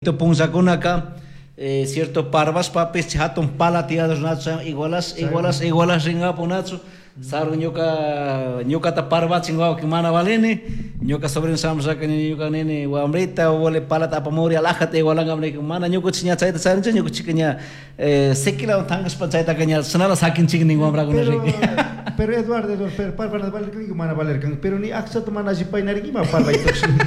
Punllakunaka cierto parvashpapish jatun pala tiyadurnachu igualash igualash igualash ringapunachu sarun ñuka ñukata parvachin wawki mana valini ñuka sobrino shamushaka ñuka nini wambrita wale palata apamuri alajata igualangami niki mana ñukuchik ña chayta charinchik ñukuchika ña sequilawan tankashpa chaytaka ña shinala sakinchik nin wambrakuna riki. Pero Eduardo, Eduardo, pero parvana valerkanki mana valerkanki, pero ni akchata mana alli paynariki ima parvay tukshin.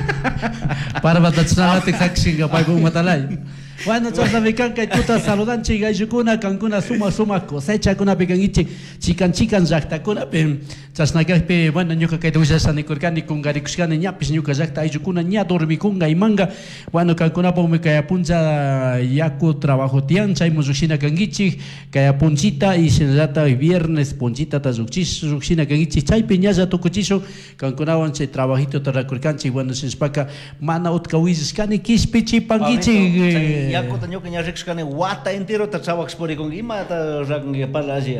Parvata chashnalatik sakshinka paypa umatalay. Bueno, chashnami kan kay tuta saludanchik ayllukuna, kankuna sumak sumak cosechakunapi kankichik, chikan chikan llaktakunapi. Chashna kakpi, bueno, ñuka kayta willasha nikurkani, kunkarikushkani, ñapish ñuka llakta ayllukuna ña dormikunga imanga. Bueno, kankunapukmi kay puncha yaku trabajo tiyan, chaymun llukshina kankichik, kay punchita y shinallatak viernes punchitata llukshina kankichik, chaypi ñalla tukuchishun kankunawan chay trabajitota rakurkanchik. Bueno, shinashpaka mana utka willashkani kishpichipankichik. Yakuta ñuka ña rikushkani wata enterota trabajashpa purikunki, imata rakunki parla alli.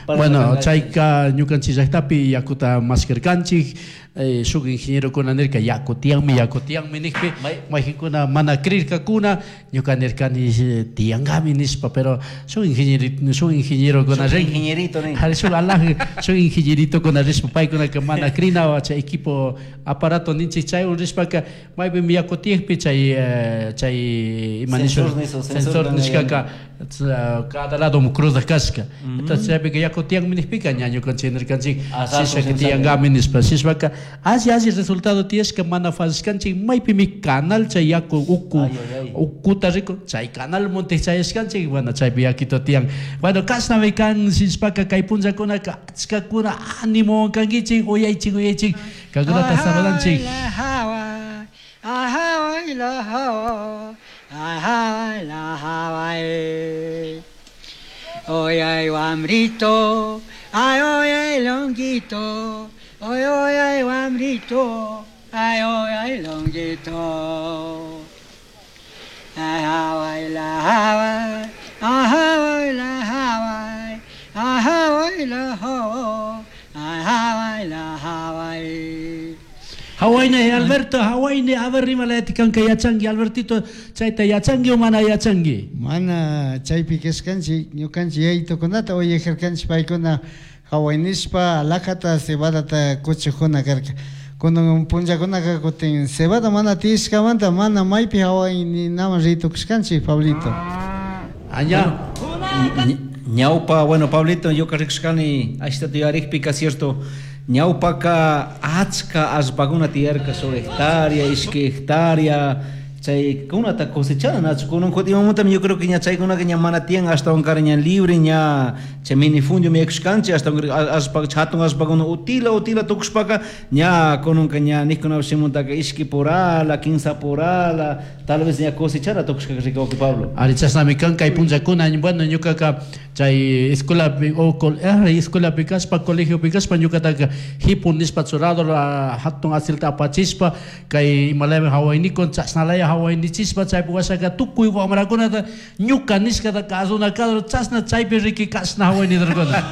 Bueno, chayka ñukanchik llaktapi yakuta mashkarkanchik, shuk ingenierokuna nirka yaku tiyanmi, yaku tiyanmi nikpi, mayqinkuna mana creerkakuna, ñuka nirkani tiyankami nishpa, pero shuk ingeniero, shuk ingenierokuna rin, ingenierito nin. Shuk alaj, shuk ingenieritokuna rishpa paykunaka mana crina chay equipo aparato ninchik chaywan rishpaka maypimi yaku tiyakpi chay chay ima nishun sensor nishkaka cada lado cruzak kashka. Entonces chaypika yaku tiyanmi nikpika ña ñukanchik nirkanchik shishaka tiyankami nishpa, shishpaka alli alli resultado tiyashka mana fallashkanchik maypimi canal chay yaku uku ukuta riku chay canal monte chayashkanchik, bueno chaypi yakito tiyan. Bueno, kashnami kan shishpaka kay punllakunaka achkakuna animowan kankichik, uyaychik uyaychik kankunata saludanchik. Oy ay wambrito, ay oy ay longuito, oy oy ay wambrito, ay oy ay longuito. Ay Hawaii la Hawaii, ay Hawaii la Hawaii, ay Hawaii la Hawaii, ay Hawaii la Hawaii. Hawaii Alberto, Hawaii a ver rimalayati kanka yachanki Albertito, chayta yachanki o mana yachanki? Mana chaypi kashkanchik ñukanchik yaytukunata uyajarkanchik paykuna Hawaii nishpa alajata cebadata kuchujuna karka. Kunan punllakunaka kutin cebada mana tiyashkamanta mana maypi Hawaii ninaman ritukushkanchik Pablito. Aña. Ñawpa, bueno Pablito, ñuka rikushkani ashtata yuyarikpika cierto ñawpaka achka allpakuna tiyarka shuk hectárea, ishki hectárea, chaykunata cosechana nachu kunan kutin imamantami yo creo que ña chaykunaka ña mana tiyan ashtawankari ña libre ña chay minifundio mikushkanchik ashtawankari allpa hatun allpakuna utila utila tukushpaka ña kunanka ña nikunapish shimuntaka ishki purala, kinsa purala, tal vez ña cosechana tukushkaka rikuwaki Pablo. Ari chashnami kan kay punllakuna, bueno ñukaka chay escuelapi o escuelapi kashpa colegiopi kashpa ñukataka hipu nishpa churado hatun asilta apachishpa kay imalaymi hawaynikun chashnalaya hawaynichishpa chaypi washaka tukuy wamrakunata ñuka nishkata kasuna kadro chashna chaypi riki kashna hawaynidurkuna.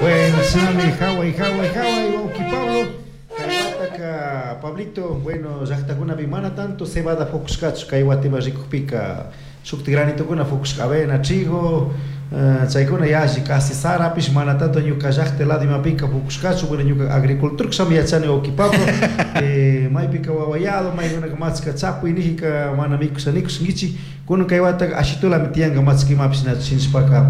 Bueno, Sami, Hawaii, Hawaii, Hawaii, wawki Pablo. Kaywataka, Pablito, bueno, llaqtakunapi mana tanto cebada fukushkachu kay watima rikukpika shukti granitokuna fukushka avena, trigo, chaykuna yalli casi sarapish mana tanto ñuka llaqta lado imapika fukushkachu, bueno, ñuka agricultor kashami yachani wawki Pablo. Maypika wawayado, maykunaka machka chapuy nijika mana mikusha nikushankichik, kunan kay wataka ashitulami tiyanka machka imapish nachu shinashpaka.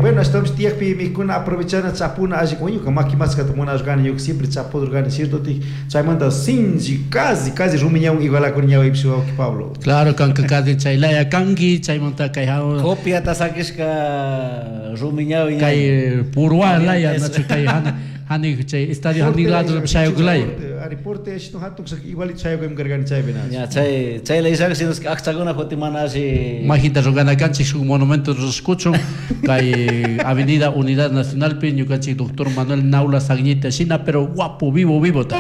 Bueno, ashtawanpish tiyakpi mikuna aprovechana chapuna alli ñuka maki machkata munashkani ñuka siempre chapudurkani cierto tik chaymanta sinchi casi casi rumiñawan igualakuni ñawaypish wawki Pablo. Claro, kanka casi chaylaya kanki chaymanta kay hawa Copiata sakishka rumiñawi kay purwa laya nachu kay hana hani chay estadio hani lado shayukulaya. Ari porte ashtu hatun sak igualito shayukuymi karkani chaypi nachu. Ya chay chay layshaka sino akchakuna kutin mana alli Majinta rurana kanchik shuk monumento rurashkuchun kay Avenida Unidad Nacionalpi ñukanchik doctor Manuel Naula Sagñita shina pero guapo vivo vivo ta.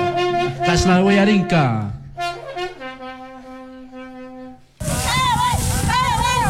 Kashna uyarinka.